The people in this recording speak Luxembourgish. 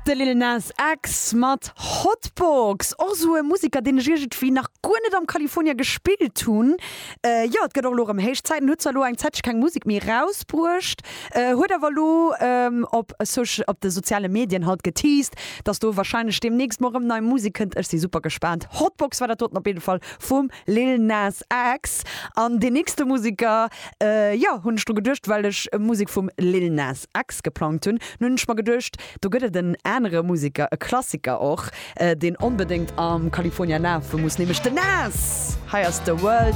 De Lil Nas X mat Hotbox, och esou e Museker, deen ech iergendwéi nach guer net am California gespillt hunn. Jo, et gëtt och elo erëm héich Zäit. En huet zwar elo eng Zäitche keng Musek méi erausbruecht, huet awer elo op op de soziale Medien halt geteased, dass do warscheinlech deemnächst mol erëm nei Musek kënnt. Ech si super gespaant. Hotbox war dat doten op jidde Fall vum Lil Nas X. An deen nächste Museker, jo, hunn ech dru geduecht, well ech Musek vum Lil Nas X geplangt hunn. Nun hunn ech mer geduecht, do gëtt et en anere Museker, e Klassiker och, deen onbedéngt am California lafe muss, nämlech den Nas! Hei ass The World.